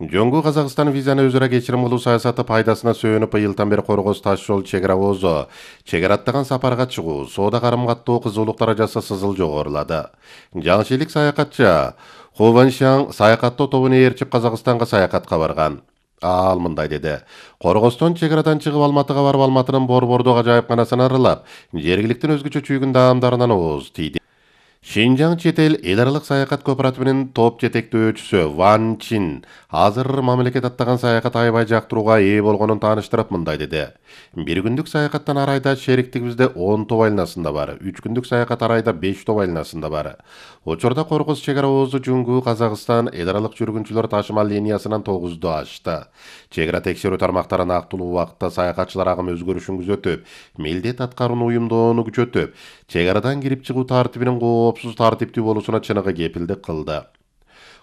Жоңгу Казакстан визаны өзара кечирим кылуу саясаты пайдасына сөөнүп ыйылтан бери Коргоз таш жол чек ара озо, чек ара аттаган сапарга чыгуу, соода карым-каттоо кызуулук даражасы сызыл жогорулады. Жаңшилик саякатчы Ху Ваншаң саякаттоо тобуна ээрчип Казакстанга саякатка барган. Ал мындай деди. Коргостон чек арадан чыгып Алматыга барып, Алматынын Борбордук ажайыпканасын аралап, жергиликтин өзгөчө чүйгүн даамдарынан ооз тийди. Шинжаң чет эл аралык саякат кооперативинин топ жетектөөчүсү Ван Чин азыр мамлекет аттаган саякат аябай жактырууга ээ болгонун тааныштырып мындай деди. Бир күндүк саякаттан ар айда шериктигибизде 10 топ айланасында бар, 3 күндүк саякат ар айда 5 топ айланасында бар. Учурда Коргоз чек ара оозу Жоңгу Казакстан аралык жүргүнчүлөр ташымал линиясынан 9 ашты. Чек ара текшерүү тармактарын актылуу убакытта саякатчылар агым өзгөрүшүн күзөтүп, милдет аткарууну уюмдоону күчөтүп, чек арадан кирип чыгуу тартибинин коопсуз тартиптүү болуусуна чыныгы кепилдик кылды.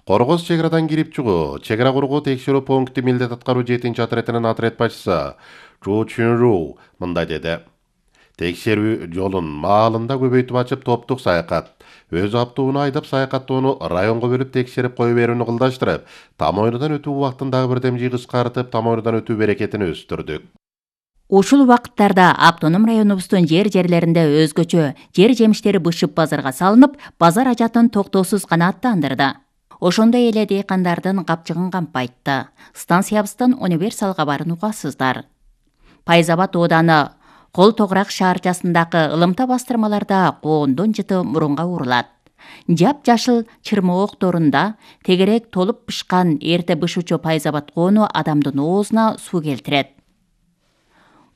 Коргоз чек арадан кирип чыгуу, чек ара кургоо текшерүү пункти милдет аткаруу 7-отрядынын отряд башчысы Чу Чунру мындай деди. Текшерүү жолун маалында көбөйтүп ачып топтук саякат, өз аптууну айдап саякаттоону районго бөлүп текшерип кое берүүнү кылдаштырып, там ойнудан өтүү убактын дагы бирдем кыскартып, там ойнудан өтүү берекетин өстүрдүк. Ушул убакыттарда автоном районубуздун жерлеринде өзгөчө жер жемиштери бышып базарга салынып, базар ажатын токтоосуз канааттандырды. Ошондой эле дыйкандардын капчыгын кампайтты. Станциябыздан универсал кабарын угасыздар. Пайзабад ооданы Кол Тогурак шаарчасындагы ылымта бастырмаларда коондун жыты мурунга урулат. Жап-жашыл чырмоо окторунда тегерек толуп бышкан эрте бышуучу Пайзабад коону адамдын оозуна суу келтирет.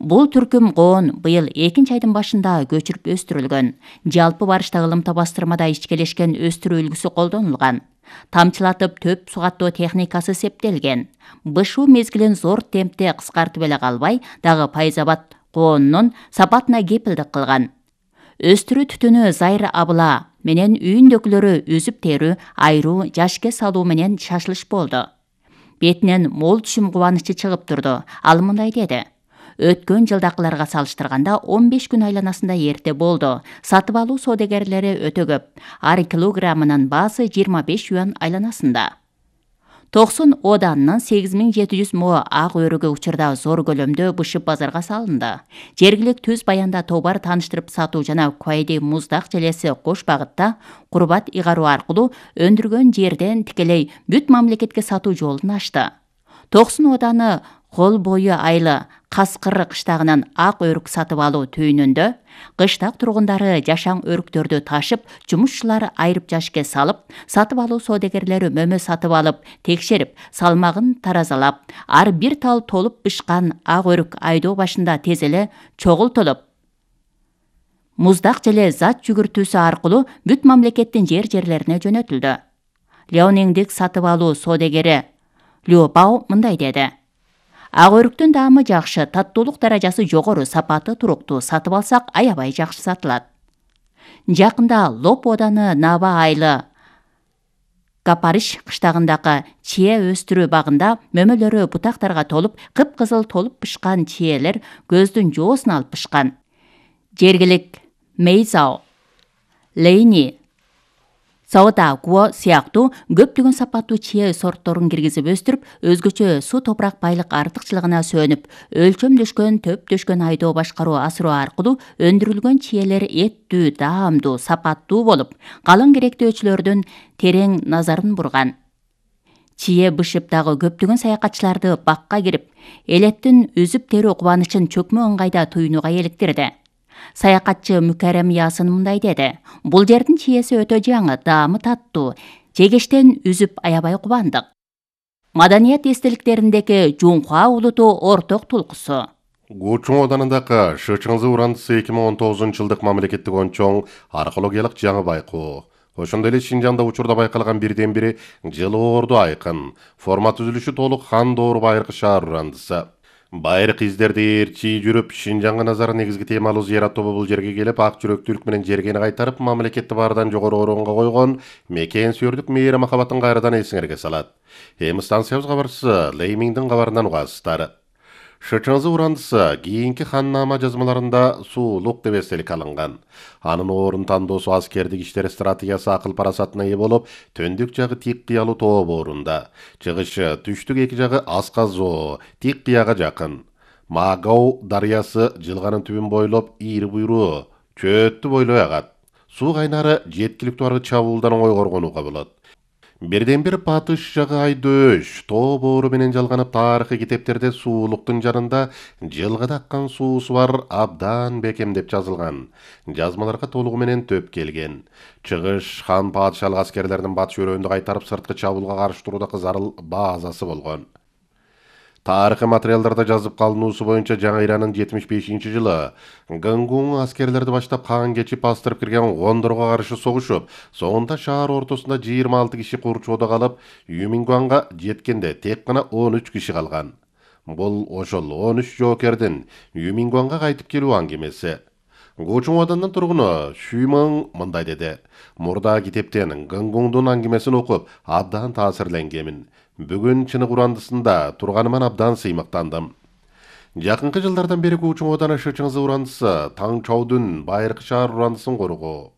Бул түркүм коон быйыл 2-айдын башында көчүрүп өстүрүлгөн. Жалпы барышта ылымта бастырмада ичкелешкен өстүрүү үлгүсү колдонулган. Тамчылатып төп сугаттоо техникасы септелген. Бышуу мезгилин зор темпте кыскартып эле калбай, дагы Пайзабад коонунун сапатына кепилдик кылган. Өстүрүү түтүнү зайыр абыла менен үйүндөгүлөрү үзүп терүү, айруу, жашке салуу менен шашылыш болду. Бетинен мол түшүм кубанычы чыгып турду. Ал мындай деди. Өткөн жылдакыларга салыштырганда 15 күн айланасында эрте болду. Сатып алуу соодагерлери өтө көп. Ар килограммынын баасы 25 юан айланасында. 90 оданынын 8700 мо ак өрүгү учурда зор көлөмдө бышып базарга салынды. Жергилик түз баянда товар тааныштырып сатуу жана Куайди муздак желеси кош багытта курбат ыйгаруу аркылуу өндүргөн жерден тикелей бүт мамлекетке сатуу жолун ачты. 90 оданы Кол бою айлы Каскыр кыштагынан ак өрүк сатып алуу түйүнүндө кыштак тургундары жашаң өрүктөрдү ташып, жумушчулар айрып жашке салып, сатып алуу соодагерлери мөмө сатып алып, текшерип, салмагын таразалап, ар бир тал толуп бышкан ак өрүк айдоо башында тез эле чогултулуп, муздак желе зат жүгүртүүсү аркылуу бүт мамлекеттин жерлерине жөнөтүлдү. Леониңдик сатып алуу соодагери Лю Бао мындай деди. Ак өрүктүн даамы жакшы, таттуулук даражасы жогору, сапаты туруктуу, сатып алсак аябай жакшы сатылат. Жакында Лоп оданы Наба айлы Капарыш кыштагындагы чие өстүрүү багында мөмөлөрү бутактарга толуп, кыпкызыл толуп бышкан чиелер көздүн жоосун алып бышкан. Жергилик Мейзао, Лейни, Саода Гуо сыяктуу көптөгөн сапаттуу чие сортторун киргизип өстүрүп, өзгөчө суу топурак байлык артыкчылыгына сөөнүп, өлчөмдөшкөн, төптөшкөн айдоо башкаруу асыруу аркылуу өндүрүлгөн чиелер эттүү, даамдуу, сапаттуу болуп, калың керектөөчүлөрдүн терең назарын бурган. Чие бышып дагы көптөгөн саякатчыларды бакка кирип, элеттин үзүп терүү кубанычын чөкмө ыңгайда туюнууга эликтирди. Саякатчы Мүкәрем Ясын мындай деди. Бул жердин чиеси өтө жаңы, даамы таттуу, жегештен үзүп аябай кубандык. Маданият эстеликтериндеги Жунхуа улуту орток тулкусу. Гучуң оданындагы Шычыңзы урандысы 2019 жылдык мамлекеттик ончоң археологиялык жаңы байкоо. Ошондой эле Шинжаңда учурда байкалган бирден бири жылы орду айкын, форма түзүлүшү толук хан доору байыркы шаар урандысы. Байыркы издерди ээрчи жүрүп, Шинжаңга назары негизги темалуу зыярат тобу бул жерге келип, ак жүрөктүүлүк менен жергени кайтарып, мамлекетти баардан жогору орунга койгон мекен сүйөрдүк мээри махабатын кайрадан эсиңерге салат. Эми станциябыз кабарчысы Леймиңдин кабарынан угасыздар. ШЧЗ урандысы кийинки ханнама жазмаларында суулук деп эстелик алынган. Анын орун тандоосу аскердик иштер стратегиясы акыл парасатына ээ болуп, төндүк жагы тик кыялуу тоо боорунда, чыгышы түштүк эки жагы Асказоо, тик кыяга жакын. Магау дарыясы жылганын түбүн бойлоп, ийри буйруу чөөттү бойлой агат. Суу кайнары жеткиликтүү аргы чабуулдан оңой коргонууга болот. Бирден бир батыш жагы Айдөш тоо боору менен жалганып, тарыхый китептерде суулуктун жанында жылгыда аккан суусу бар абдан бекемдеп жазылган. Жазмаларга толугу менен төп келген. Чыгыш хан падышалык аскерлердин батыш өрөөндү кайтарып сырткы чабуулга каршы турууда зарыл базасы болгон. Тарыхый материалдарда жазып калынуусу боюнча Жаңы Иранын 75-жылы Гангун аскерлерди баштап хан кечип бастырып кирген гондорго каршы согушуп, соңунда шаар ортосунда 26 киши курчоодо калып, Юмингуанга жеткенде тек гана 13 киши калган. Бул ошол 13 жоокердин Юмингуанга кайтып келүү аңгемеси. Гочуңаданын тургуну Шүймөн мындай деди: "Мурда китептен Гангундун аңгемесин окуп, абдан таасирленгемин. Бүгүн чынык урандысында турганыман абдан сыймыктандым. Жакынкы жылдардан бери Гучуңодан ШЧЗ урандысы Таң Чаудун байыркы шаар урандысын коргоо,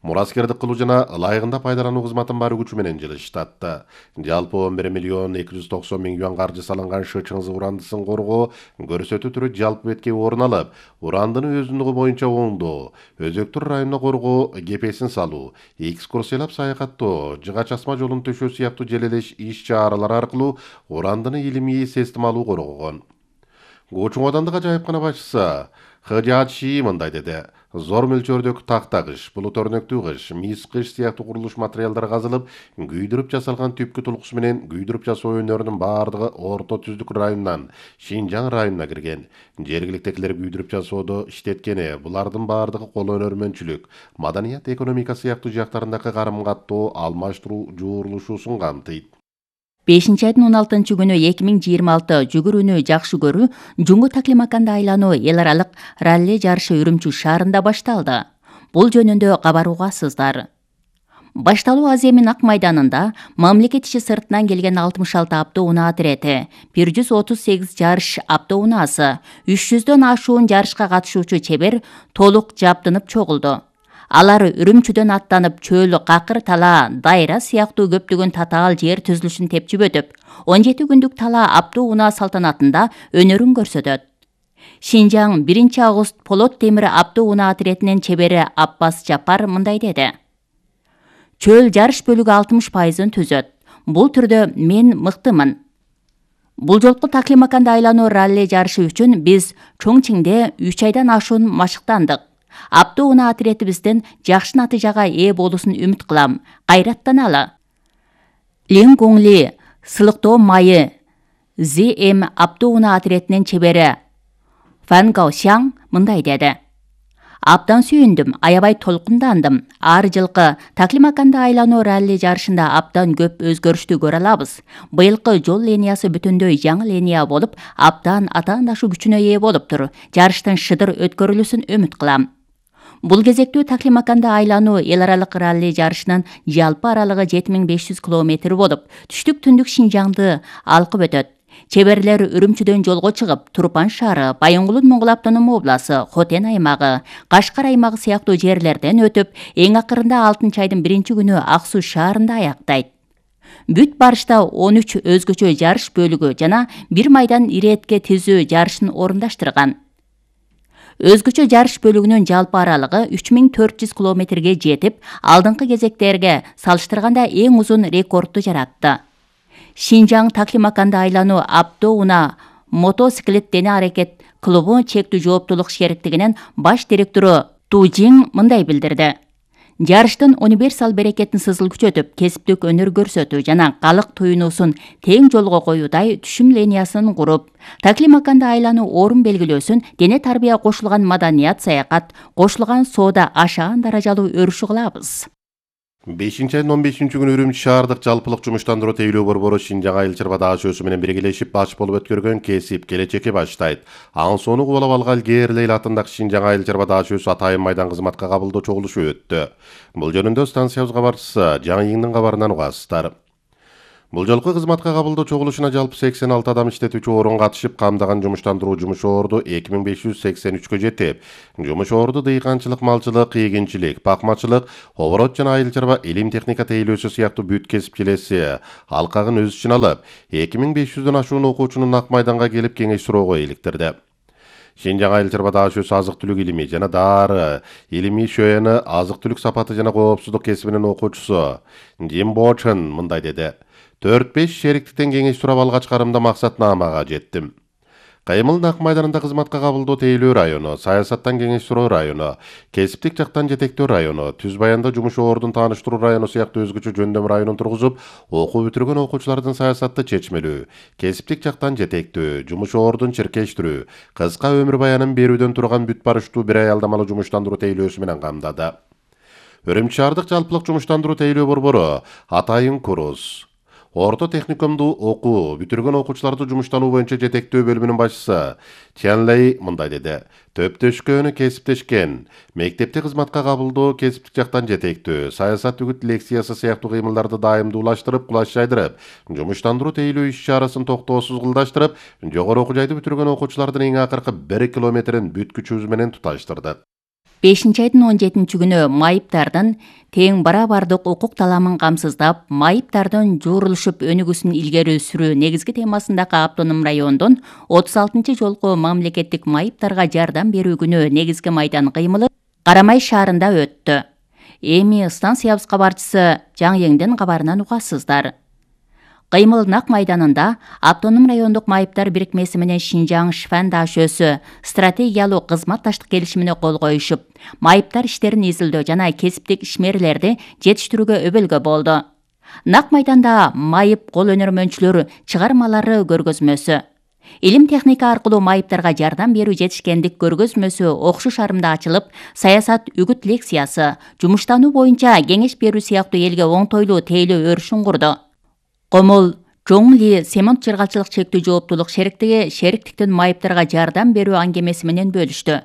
мураскердик кылуу жана ылайыгында пайдалануу кызматын бар күчү менен жылыштатты. Жалпы 11 миллион 290 миң юан каржы салынган ШЧЗ урандысын коргоо көрсөтүү түрү жалпы бетке орун алып, урандыны өзүндүгү боюнча оңдоо, өзөктүр районуна коргоо, кепесин салуу, экскурсиялап саякаттоо, жыга часма жолун төшөө сыяктуу желелеш иш-чаралар аркылуу урандыны илимий системалуу коргогон. Гочуңодандык ажайыпкана башчысы Хыжачи мындай деди: "Зор мөлчөрдөгү тактагыш, булут өрнөктүү кыш, мис кыш сыяктуу курулуш материалдары казылып, күйдүрүп жасалган түпкү тулкусу менен күйдүрүп жасоо өнөрүнүн бардыгы Орто Түздүк районунан Шинжаң районуна кирген. Жергиликтегилер күйдүрүп жасоодо иштеткени, булардын бардыгы кол өнөрмөнчүлүк, маданият, экономика сыяктуу жактарындагы карым-каттоо, алмаштыруу жуурулушуусун камтыйт." 5-айдын 16 күнү 2026 жүгүрүүнү жакшы көрүү Жуңгу Таклимаканда айлануу эл аралык ралли жарышы Үрүмчү шаарында башталды. Бул жөнүндө кабар угасыздар. Башталуу аз эмин Ак майданында мамлекет иши сыртынан келген 66 автоунаа отирети, 138 жарыш автоунаасы, 300дөн ашуун жарышка катышуучу чебер толук жабдынып чогулду. Алар Үрүмчүдөн аттанып чөл, какыр тала, дайра сыяктуу көптөгөн татаал жер түзүлүшүн тепчип өтүп, 17 күндүк тала автоунаа салтанатында өнөрүн көрсөтөт. Шинжаң 1 август Полот темир автоунаа отиретинин чебери Аппас Жапар мындай деди: "Чөл жарыш бөлүгү 60%-ын түзөт. Бул түрдө мен мыктымын. Бул жолку Таклимаканда айлануу ралли жарышы үчүн биз Чоңчиңде 3 айдан ашуун машыктандык. Автоунаа отиретибиздин жакшы натыйжага ээ болуусун үмүт кылам. Кайраттаналы." Лин Гуңли сылыктоо майы ЗМ автоунаа отиретинин чебери Фан Гаошяң мындай деди: "Абдан сүйүндүм, аябай толкундандым. Ар жылкы Таклимаканда айлануу ралли жарышында абдан көп өзгөрүштү көрө алабыз. Быйылкы жол линиясы бүтүндөй жаңы линия болуп, абдан атаандашуу күчүнө ээ болуптур. Жарыштын шыдыр өткөрүлүүсүн үмүт кылам." Бул кезектүү Таклимаканда айлануу эл аралык ралли жарышынын жалпы аралыгы 7500 километр болуп, түштүк түндүк Шинжаңды алкып өтөт. Чеберлер Үрүмчүдөн жолго чыгып, Турпан шаары, Байоңгулун Моңгол автономуу областы, Хотен аймагы, Кашкар аймагы сыяктуу жерлерден өтүп, эң акырында 6-айдын 1 күнү Ак Суу шаарында аяктайт. Бүт барышта 13 өзгөчө жарыш бөлүгү жана 1 майдан иретке тизүү жарышын орундаштырган. Өзгөчө жарыш бөлүгүнүн жалпы аралыгы 3400 километрге жетип, алдыңкы кезектерге салыштырганда эң узун рекордду жаратты. Шинжаң Таклимаканда айлануу автоунаа мотоциклет дене аракет клубу чектүү жооптуулук шериктигинин баш директору Тужиң мындай билдирди: "Жарыштын универсал берекетин сызыл күчөтүп, кесиптик өнөр көрсөтүү жана калык туюнуусун тең жолго коюудай түшүм линиясын куруп, Таклимаканда айлануу орун белгилөөсүн дене тарбия кошулган маданият саякат, кошулган соода ашаан даражалуу өрүшү кылабыз." 5-айдын 15 күнү Үрүмчү шаардык жалпылык жумуштандыруу тейлөө борбору Шинжаң айыл чарба даашөөсү менен биргелешип баш болуп өткөргөн кесип келечекке баштайт. Анын сону кубалап алган Герлейл атындагы Шинжаң айыл чарба даашөөсү Атайын майдан кызматка кабылдоо чогулушу өттү. Бул жөнүндө станциябыз кабарчысы Жаңы Иңдин кабарынан угасыздар. Бул жолку кызматка кабылдоо чогулушуна жалпы 86 адам иштетүүчү орун катышып, камдаган жумуштандыруу жумуш орду 2583-кө жетип, жумуш орду дыйканчылык, малчылык, эгинчилик, пакмачылык, оборот жана айыл чарба, илим техника тейлөөсү сыяктуу бүт кесип жилеси алкагын өз ичине алып, 2500дөн ашуун окуучунун Ак майданга келип кеңеш суроого иликтирди. Шинжаң айыл чарба даш өз азык түлүк илими жана дары илими шөөнө азык түлүк сапаты жана коопсуздук кесибинин окуучусу Джим Бочен мындай деди: 4-5 шериктиктен кеңеш сурап алгач, карымда максатнамага жеттим. Кайымыл Ак майданында кызматка кабылдоо тейлөө району, саясаттан кеңеш суроо району, кесиптик жактан жетектөө району, Түз Баянда жумуш ордун тааныштыруу району сыяктуу өзгөчө жөндөм районун тургузуп, окуу бүтүргөн окуучулардын саясатты чечмелүү, кесиптик жактан жетектөө, жумуш ордун чиркештирүү, кыска өмүр баянын берүүдөн турган бүт барыштуу бир ай алдамалуу жумуштандыруу тейлөөсү менен камдады. Өрүмчү шаардык жалпылык жумуштандыруу тейлөө борбору Атайын Курус Орто техникумду окуу бүтүргөн окуучуларды жумуштануу боюнча жетектөө бөлүмүнүн башчысы Ченлей мындай деди: төптөшкөнү кесиптешкен, мектепте кызматка кабылдоо, кесиптик жактан жетектөө, саясат үгүт лекциясы сыяктуу кыймылдарды дайымдуулаштырып, кулаш жайдырып, жумуштандыруу тейлөө иш-чарасын токтоосуз кылдаштырып, жогору окуу жайды бүтүргөн окуучулардын эң акыркы 1 километрин бүт күчүбүз менен туташтырдык. 5-айдын 17-күнү майыптардын тең барабардык укук таламын камсыздап, майыптардын жуурулушуп өнүгүүсүн илгери сүрүү негизги темасындагы автоном райондун 36-жолку мамлекеттик майыптарга жардам берүү күнү негизги майдан кыймылы Карамай шаарында өттү. Эми станциябыз кабарчысы Жаң-Еңдин кабарынан угасыздар. Кыймыл Ак майданында автоном райондук майыптар бирикмеси менен Шинжаң Шифан даашөсү стратегиялуу кызматташтык келишимине кол коюшуп, майыптар иштерин изилдөө жана кесиптик ишмерлерди жетиштирүүгө өбөлгө болду. Ак майданда майып кол өнөрмөнчүлөр чыгармалары көргөзмөсү, илим техника аркылуу майыптарга жардам берүү жетишкендик көргөзмөсү окшуш арымда ачылып, саясат үгүт лекциясы, жумуштануу боюнча кеңеш берүү сыяктуу элге оңтойлуу тейлөө өрүшүн курду. Комол Жоңли Семент жыргалчылык чектүү жооптуулук шериктиги шериктиктин майыптарга жардам берүү аңгемеси менен бөлүштү.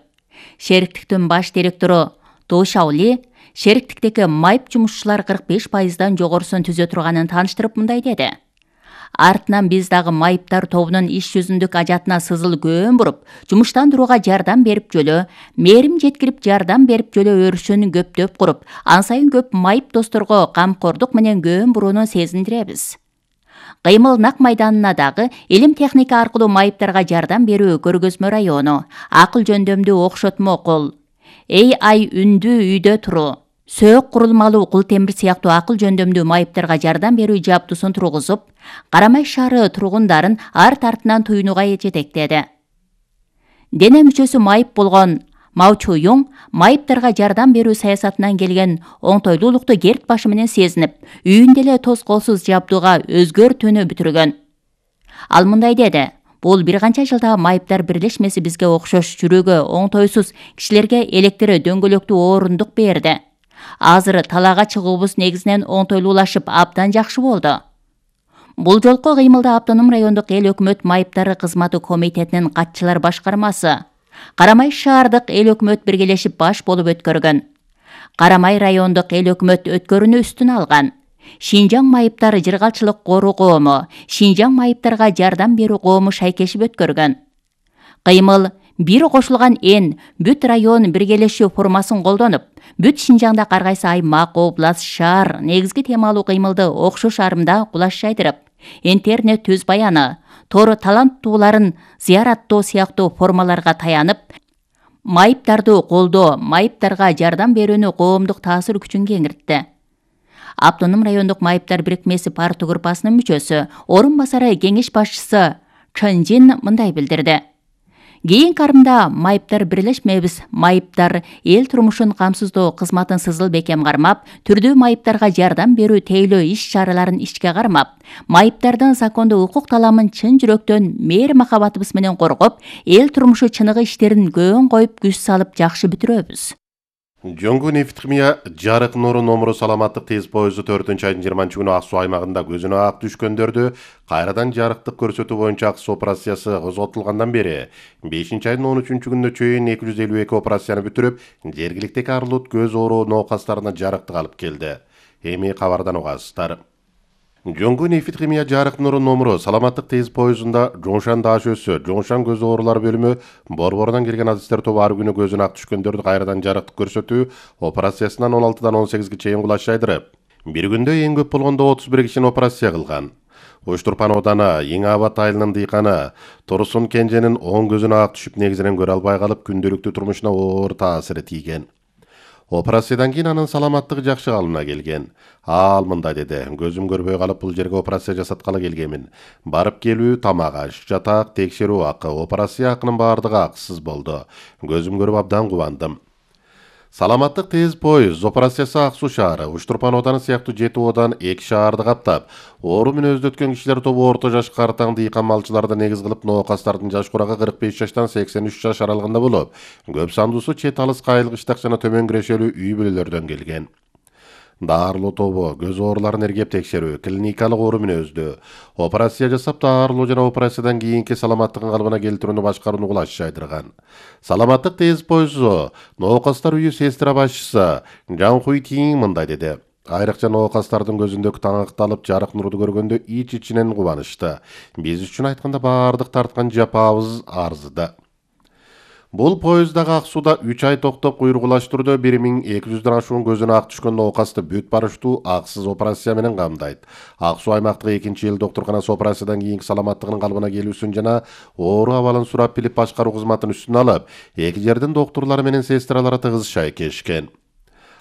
Шериктиктин баш директору Ду Шаоли шериктиктеги майып жумушчулар 45%дан жогорусун түзө турганын тааныштырып мындай деди: Артынан биз дагы майыптар тобунун иш жүзүндүк ажатына сызыл көөн буруп, жумуштандырууга жардам берип жөлө, мээрим жеткирип жардам берип жөлө өрүшүн көптөп куруп, ан сайын көп майып досторго камкордук менен көөн бурууну сезиндиребиз. Кыймыл Ак майданына дагы илим техника аркылуу майыптарга жардам берүү көргөзмө району, акыл жөндөмдүү окшотмо кол, AI үндүү үйдө туруу, сөөк курулмалуу кул темир сыяктуу акыл жөндөмдүү майыптарга жардам берүү жабдуусун тургузуп, Карамай шаары тургундарын арт артынан туюнууга жетектеди. Дене мүчөсү майып болгон Маучу Юң майыптарга жардам берүү саясатынан келген оңтойлуулукту керт башы менен сезинип, үйүндө эле тоз колсуз жабдууга өзгөртүүнү бүтүргөн. Ал мындай деди: бул бир канча жылда майыптар бирлешмеси бизге окшош жүрөгө оңтойсуз кишилерге электр дөңгөлөктүү орундук берди. Азыр талаага чыгуубуз негизинен оңтойлуулашып, абдан жакшы болду. Бул жолку кыймылда автоном райондук эл өкмөт майыптары кызматы комитетинин катчылар башкармасы, Карамай шаардык эл өкмөт биргелешип баш болуп өткөргөн. Карамай райондук эл өкмөт өткөрүүнү үстүнө алган. Шинжаң майыптар жыргалчылык коруу коому, Шинжаң майыптарга жардам берүү коому шайкешип өткөргөн. Кыймыл бир кошулган эн бүт район биргелешүү формасын колдонуп, бүт Шинжаңда ар кайсы аймак, област, шаар негизги темалуу кыймылды окшош арымда кулаш жайдырып, интернет Түз Баяны, тор таланттууларын зыяраттоо сыяктуу формаларга таянып, майыптарды колдоо, майыптарга жардам берүүнү коомдук таасир күчүн кеңиртти. Автоном райондук майыптар бирикмеси партия группасынын мүчөсү, орун басары кеңеш башчысы Чынжин мындай билдирди: Кийинки арымда майыптар бирлешмебиз, майыптар эл турмушун камсыздоо кызматын сызыл бекем кармап, түрдүү майыптарга жардам берүү тейлөө иш-чараларын ишке кармап, майыптардын закондуу укук таламын чын жүрөктөн мээр махабатыбыз менен коргоп, эл турмушу чыныгы иштерин көөн коюп күч салып жакшы бүтүрөбүз. Жоңгу нефтхимия жарык нуру номуру саламаттык тез поезду 4-айдын 20-күнү Ак Суу аймагында көзүнө ак түшкөндөрдү кайрадан жарыктык көрсөтүү боюнча ак суу операциясы козготулгандан бери 5-айдын 13-күнүнө чейин 252 операцияны бүтүрүп, жергиликтеги арлут көз оору ноокастарына жарыктык алып келди. Эми кабардан угасыздар. Жоңгу нефит химия жарык нуру номуру саламаттык тез поездунда жоңшан даш өсө, жоңшан көз оорулар бөлүмү борборунан келген адистер тобу ар күнү көзүнө ак түшкөндөрдү кайрадан жарыктык көрсөтүү операциясынан 16-дан 18-ге чейин кулаш жайдырып, бир күндө эң көп болгондо 31 кишини операция кылган. Уштурпан ооданы Эң Абад айылынын дыйканы Турсун Кенженин оң көзүнө ак түшүп негизинен көрө албай калып күндөлүктүү турмушуна оор таасири тийген. Операциядан кийин анын саламаттыгы жакшы калыбына келген. Ал мындай деди: көзүм көрбөй калып бул жерге операция жасаткалы келгенмин. Барып келүү, тамак аш, жатак, текшерүү акы, операция акынын баардыгы акысыз болду. Көзүм көрүп абдан кубандым. Саламаттык тез поезд операциясы Ак Суу шаары, Уштурпан ооданы сыяктуу 7 оодан 2 шаарды каптап, оору менен өздөткөн кишилер тобу орто жаш картаң дыйкан малчыларды негиз кылып, ноокастардын жаш курагы 45 жаштан 83 жаш аралыгында болуп, көп сандуусу чет алыс кайылгычтак жана төмөн кирешелүү үй бүлөлөрдөн келген. Даарылоо тобу көз ооруларын эргеп текшерүү, клиникалык оору мүнөздүү, операция жасап даарылоо жана операциядан кийинки саламаттыгын калыбына келтирүүнү башкарууну кулаш жайдырган. Саламаттык тез поезду ноокастар үйү сестра башчысы Жан Хуй Тиң мындай деди: айрыкча ноокастардын көзүндөгү таңакталып жарык нурду көргөндө ич-ичинен кубанышты. Биз үчүн айтканда баардык тарткан жапабыз арзыды. Бул поезддагы Ак Сууда 3 ай токтоп куйругулаштыруудо 1200дөн ашуун көзүнө ак түшкөн ноокасты бүт барыштуу акысыз операция менен камдайт. Ак Суу аймактык 2-эл доктурканасы операциядан кийинки саламаттыгынын калыбына келүүсүн жана оору абалын сурап билип башкаруу кызматын үстүнө алып, эки жердин доктурлары менен сестралары тыгыз шайкешкен.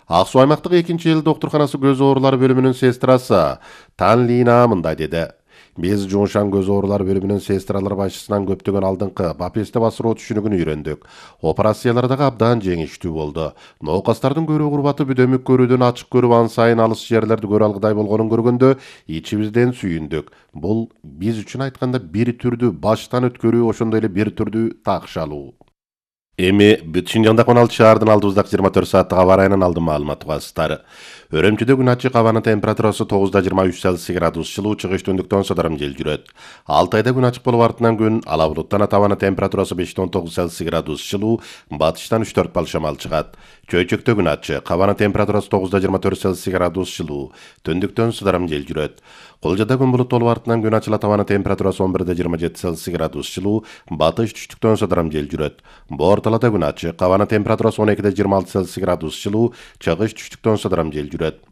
Ак Суу аймактык 2-эл доктурканасы көз оорулары бөлүмүнүн сестрасы Тан Лина мындай деди: биз жоңшан көз оорулар бөлүмүнүн сестралар башчысынан көптөгөн алдыңкы бапесте басыроо түшүнүгүн үйрөндүк. Операциялар дагы абдан жеңиштүү болду. Ноокастардын көрүү курбаты бүдөмүк көрүүдөн ачык көрүп ан сайын алыс жерлерди көрө алгыдай болгонун көргөндө ичибизден сүйүндүк. Бул биз үчүн айтканда бир түрдүү баштан өткөрүү, ошондой эле бир түрдүү такшалуу. Эми бүт Шинжаңдагы 16 шаардын алдыбыздагы 24 сааттык аба ырайынын алдын маалыматы басыстары. Өрөмчүдө күн ачык, абанын температурасы 9-23 Цельсий градус жылуу, чыгыш түндүктөн сыдырым жел жүрөт. Алтайда күн ачык болуп артынан күн ала булуттан абанын температурасы 5-9 Цельсий градус жылуу, батыштан 3-4 бал шамал чыгат. Чөйчөктө күн ачык, абанын температурасы 9-24 Цельсий градус жылуу, түндүктөн сыдырым жел жүрөт. Кулжада күн булуттуу болуп артынан күн ачылат, абанын температурасы 11-27 Цельсий градус жылуу, батыш түштүктөн сыдырым жел жүрөт. Борталада күн ачык, абанын температурасы 12-26 Цельсий градус жылуу, чыгыш түштүктөн сыдырым жел жүрөт.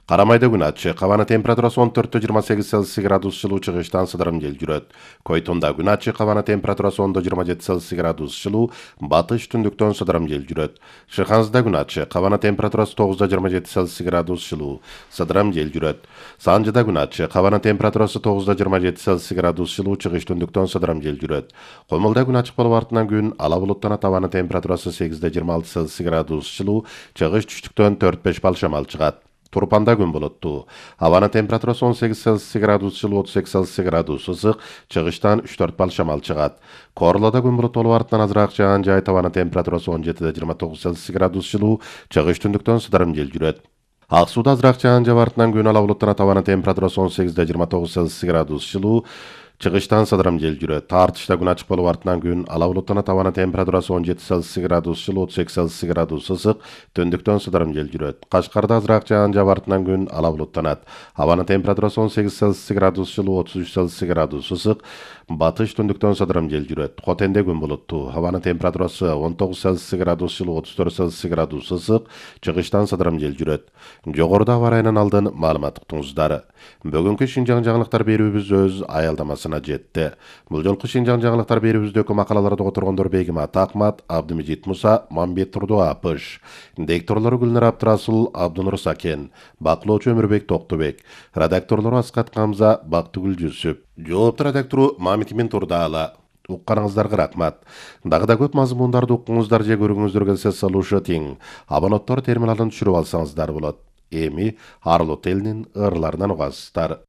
Карамайда күн ачык, абанын температурасы 14-28 Цельсий градус жылуу, чыгыштан сыдырым жел жүрөт. Койтонда күн ачык, абанын температурасы 10-27 Цельсий градус жылуу, батыш түндүктөн сыдырым жел жүрөт. Шыханзда күн ачык, абанын температурасы 9-27 Цельсий градус жылуу, сыдырым жел жүрөт. Санжыда күн ачык, абанын температурасы 9-27 Цельсий градус жылуу, чыгыш түндүктөн сыдырым жел жүрөт. Комулда күн ачык болуп артынан күн ала булуттанат, абанын температурасы 8-26 Цельсий градус жылуу, чыгыш түштүктөн 4-5 бал шамал чыгат. Турпанда күн булуттуу. Абанын температурасы 18 Цельсий градус жылуу, 38 Цельсий градус ысык, чыгыштан 3-4 бал шамал чыгат. Корлоодо күн булуттуу болуп артынан азыраак жаан жайыт, абанын температурасы 17-29 Цельсий градус жылуу, чыгыш түндүктөн сыдырым жел жүрөт. Ак Сууда азыраак жаан жаап артынан күн ала булуттанат, абанын температурасы 18-29 Цельсий градус жылуу, чыгыштан сыдырым жел жүрөт. Тартышта күн ачык болуп артынан күн ала булуттанат, абанын температурасы 17 Цельсий градус жылуу, 32 Цельсий градус ысык, түндүктөн сыдырым жел жүрөт. Кашкарда азыраак жаан жаап артынан күн ала булуттанат, абанын температурасы 18 Цельсий градус жылуу, 33 Цельсий градус ысык, батыш түндүктөн сыдырым жел жүрөт. Котенде күн булуттуу, абанын температурасы 19 Цельсий градус жылуу, 34 Цельсий градус ысык, чыгыштан сыдырым жел жүрөт. Жогоруда аба ырайынын алдын маалымат уктуңуздар. Бүгүнкү Шинжаң жаңылыктар берүүбүз өз аялдамасына жетти. Бул жолку Шинжаң жаңылыктар берүүбүздөгү макалаларды которгондор Бегимат Акмат, Абдымежит Муса, Мамбет Турдуапыш, дикторлору Гүлнар Абдрасул, Абдунур Сакен, баклоочу Өмүрбек Токтубек, редакторлору Аскат Камза, Бактыгүл Жүсүп, жоопту редактору Мамитмин Турдаала. Укканыңыздарга рахмат. Дагы да көп мазмундарды уккуңуздар же көрүүңүздөр келсе слушатиң, абонаттар терминалын түшүрүп алсаңыздар болот. Эми Арлот элинин ырларынан угасыздар.